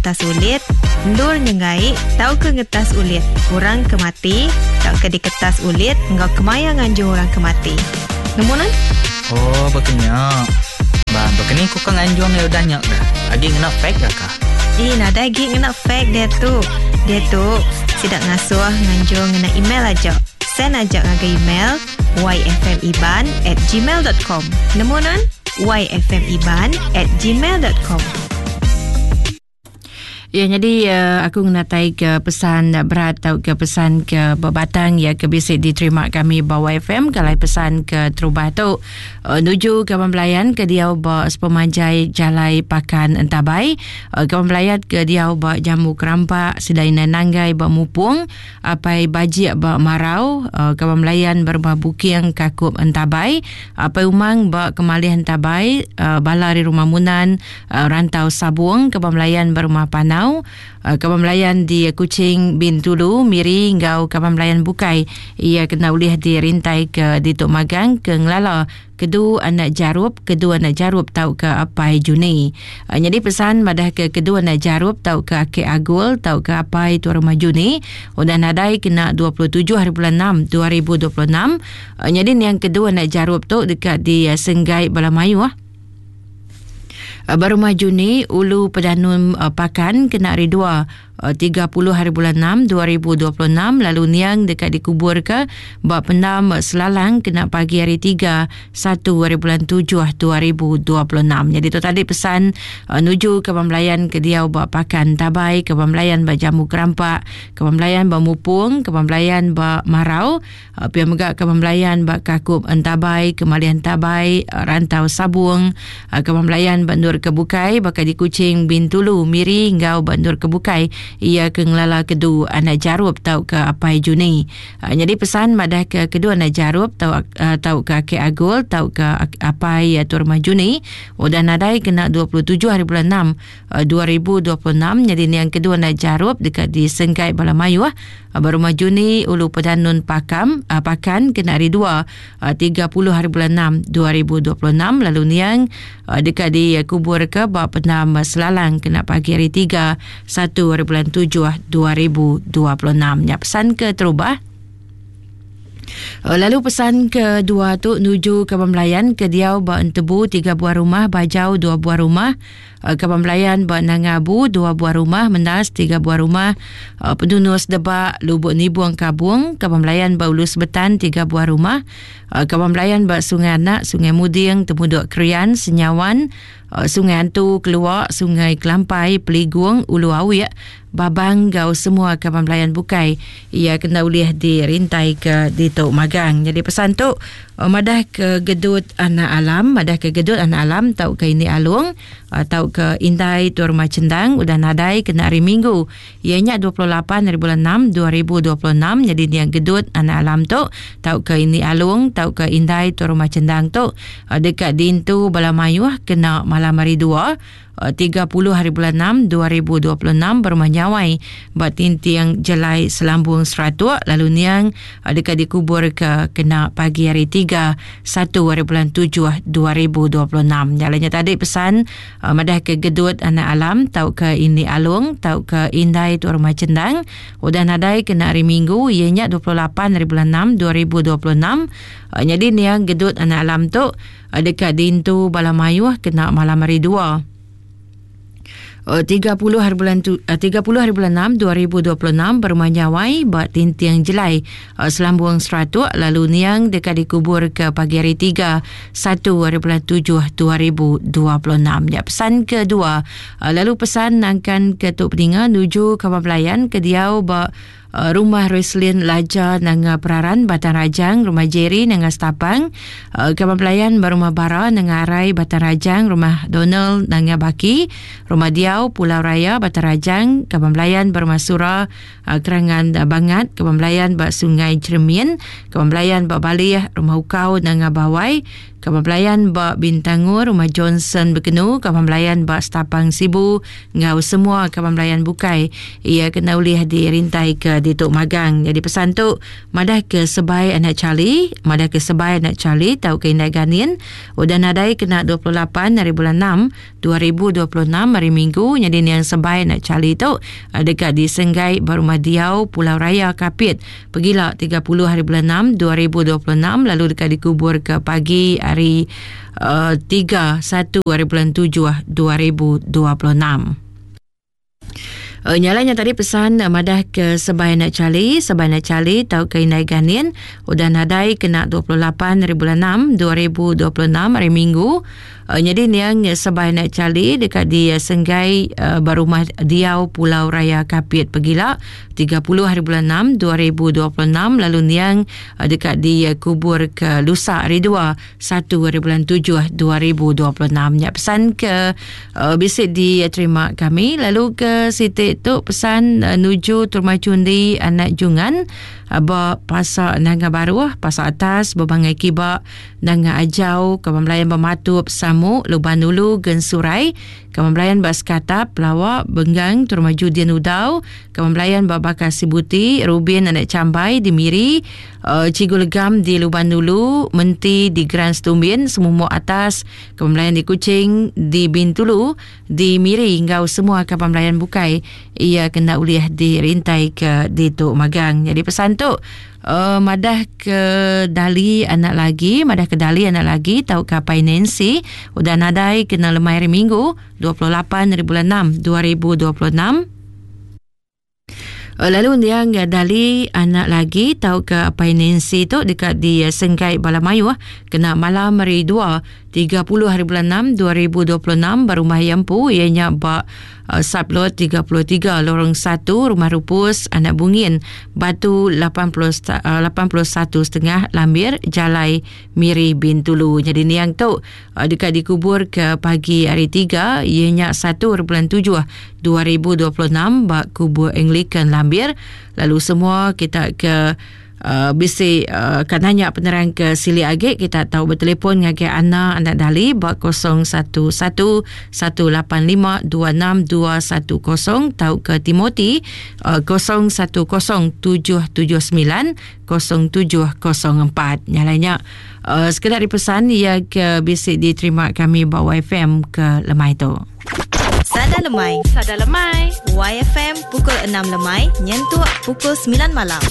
ngetas ulit, endur nyenggai tauka ngetas ulit orang ke mati tauka diketas ulit enggau kemaya nganjung orang ke mati. Nemu nuan? Oh, baka nya. Ba, baka ni ku ka nganjung iya udah nya kah? Agi ngena fax ga kah? Ih, nadai agi ngena fax diatu. Diatu, sida ngasuh nganjung ngena email aja. Send aja ngagai email yfmiban at gmail dot com. Nemu nuan? yfmiban at gmail dot com. Ya nyadi uh, aku ngenatai ke pesan berat tau ke pesan ke bebatang ya ke bisi diterima kami ba YFM kalai pesan ke terubah tu uh, nuju kaban belayan ke diau ba sepemanjai jalai Pakan Entabai uh, kaban belayan ke diau ba Jambu Kerampak sida inai nanggai ba Mupung Apai Bajik ba Marau, Kaban Belayan ba Rumah Buking Kakup Entabai, Apai Umang ba Kemalih Entabai, bala ari Rumah Munan, Rantau Sabung, Kaban Belayan ba Rumah Panau, Kaban Belayan di Kuching, Bintulu, Miri enggau kaban belayan bukai iya kena ulih dirintai ke ditu magang ke ngelala Kedu anak Jarup, Kedu anak Jarup tauka Apai Juni. Nyadi pesan madahka Kedu anak Jarup tauka Akek Agul tauka Apai Tuan Rumah Juni udah nadai kena 27 hari bulan enam 2026. Nyadi niang Kedu anak Jarup tu deka disenggai bala mayuh ba Rumah Juni, Ulu Pedanun Pakan kena hari dua. 30 hari bulan 6 2026 lalu niang deka dikuburka ba pendam Selalang kena pagi hari 3 1 hari bulan 7 2026. Jadi tu tadi pesan uh, nuju ke Belayan ke diau ba Pakan Tabai, ke Belayan ba Jambu Kerampak, ke Belayan ba Mupung, ke Belayan ba Marau, Pia mega Kaban Belayan ba Kakup Entabai, Kemali Entabai, Rantau Sabung, Kaban Belayan ba endur ke bukai baka di Kuching, Bintulu, Miri enggau ba endur ke bukai iya ke ngelala Kedu Anak Jarup tauka Apai Juni. Nyadi pesan madahka Kedu Anak Jarup tauka Akik Agul tauka Apai Tuan Rumah Juni udah nadai kena 27 hari bulan enam 2026 nyadi niang Kedu Anak Jarup deka disenggai bala mayuh Ba Rumah Juni, Ulu Pedanun Pakam, Pakan kena hari dua, 30 hari bulan enam 2026 lalu niang deka dikuburka ba Pendam Selalang kena pagi hari tiga, satu hari bulan tujuh 2026. Nya pesan keterubah. Lalu pesan kedua tu nuju kaban belayan ke diau ba Entebu tiga buah rumah, Bajau dua buah rumah, Kaban Belayan ba Nanga Abu dua buah rumah, Mendas tiga buah rumah, Pedunus Debak, Lubuk Nibung Kabung, Kaban Belayan ba Ulu Sebetan tiga buah rumah, Kaban Belayan ba Sungai Anak, Sungai Muding, Temudok Krian, Senyawan, Sungai Antu, Keluak, Sungai Kelampai, Peligung, Ulu Awik, Babang enggau semua kaban belayan bukai iya kena ulih dirintai ke ditu magang. Nyadi pesan tu madah ke gedut anak alam, madah ke gedut anak alam tauka ini alung tauka indai Tuan Rumah Chendang udah nadai kena hari Minggu iya nya 28 hari bulan 6 2026 nyadi niang gedut anak alam tu tauka ini alung tauka indai Tuan Rumah Chendang tu deka diintu bala mayuh kena malam hari dua 30 hari bulan 6 2026 ba Rumah Nyawai ba Tinting Jelai Selambung Seratuk lalu niang deka dikuburka kena pagi hari 3 1 hari bulan 7 2026. Nya alai nya tadi pesan madahka gedut anak alam tauka ini alung tauka indai tu Rumah Chendang udah nadai kena hari Minggu iya nya 28 hari bulan 6 2026. Nyadi niang gedut anak alam tu Deka diintu bala mayuh kena malam hari dua. 30 hari bulan 30 hari bulan 6 2026 berumah Nyawai ba Tinting Jelai Selambung Seratuk lalu niang deka dikubur ke pagi hari 3 1 hari bulan 7 2026. Nya pesan kedua lalu pesan nangkan ke tu peninga nuju kaban belayan ke diau ba Rumah Roslyn Laja Nanga Peraran Batang Rajang, Rumah Jerry Nanga Stapang, Kaban Pelayan ba Rumah Bara Nanga Arai Batang Rajang, Rumah Donald Nanga Baki, Rumah Diau Pulau Raya Batang Rajang, Kaban Pelayan ba Rumah Sura Kerangan Bangat, Kaban Pelayan ba Sungai Cheremin, Kaban Pelayan ba Balih, Rumah Ukau Nanga Bawai, Kaban belayan ba Bintangor Rumah Johnson Bekenu, kaban belayan ba Stapang Sibu enggau semua kaban belayan bukai iya kena ulih dirintai ke ditu magang. Nyadi pesan tu madah ke sebai anak Charlie, madah ke sebai anak Charlie tauka indai Ganin udah nadai kena 28 hari bulan 6 2026 hari Minggu nyadi niang sebai anak Charlie tu deka disenggai ba Rumah Diau Pulau Raya Kapit pegila 30 hari bulan 6 2026 lalu deka dikubur ke pagi hari uh, 3 1 hari bulan 7 2026. Uh, nyala nya tadi pesan uh, madah ke sebai anak Charlie, sebai anak Charlie tau ke Indai Ganin udah nadai kena 28 hari bulan 6 2026 hari Minggu. Uh, nyadi niang sebai anak Charlie deka di Senggai uh, ba rumah diau Pulau Raya Kapit pegila 30 hari bulan 6 2026 lalu niang uh, deka dikubur ke lusa hari 2 1 hari bulan 7 2026 nya pesan ke uh, bisi diterima kami lalu ke siti tu pesan uh, nuju Turma Cundi anak Jungan uh, ba pasar Nanga Baruh pasar atas bebangai kiba Nanga Ajau Kaban Belayan Bematup Samu Luban Ulu Gensurai Kaban Belayan ba Sekatap Pelawak Benggang Turma Judin Udau Kaban Belayan ba Bakar Sibuti Rubin anak Cambai di Miri Uh, Cikgu Legam di Luban Dulu, Menti di Grand Setumbin, Semumuk Atas, Kaban Belayan di Kuching, di Bintulu, di Miri enggau semua kaban belayan bukai ia kena ulih dirintai ke ditu magang. Jadi pesan tu uh, madah ke dali anak lagi, madah ke dali anak lagi tau ke apai Nancy udah nadai kena lemai hari Minggu 28 hari bulan 6 2026. Eh, lalu niang dali anak lagi tauka apai Nancy tu deka disenggai bala mayuh kena malam hari 2 30 hari bulan 6 2026 ba rumah iya empu iya nya ba uh, sublot 33 lorong 1 rumah Rupus anak Bungin Batu 80 uh, 81 setengah Lambir Jalai Miri Bintulu. Jadi niang tu uh, deka dikubur ke pagi hari 3 iya nya 1 hari bulan 7 2026 ba Kubur Anglican Lambir lalu semua kita ke uh, bisi uh, ka nanya penerang ke silik agi kita tau betelefon ngagai Ana Anak Dali ba 011 185 26210 tauka Timothy uh, 010 779 0704. Nyalai nya uh, sekeda dipesan ia ke bisi diterima kami ba YFM ke lemai tu. Sada Lemai. Sada Lemai. YFM pukul 6 lemai nyentuk pukul 9 malam.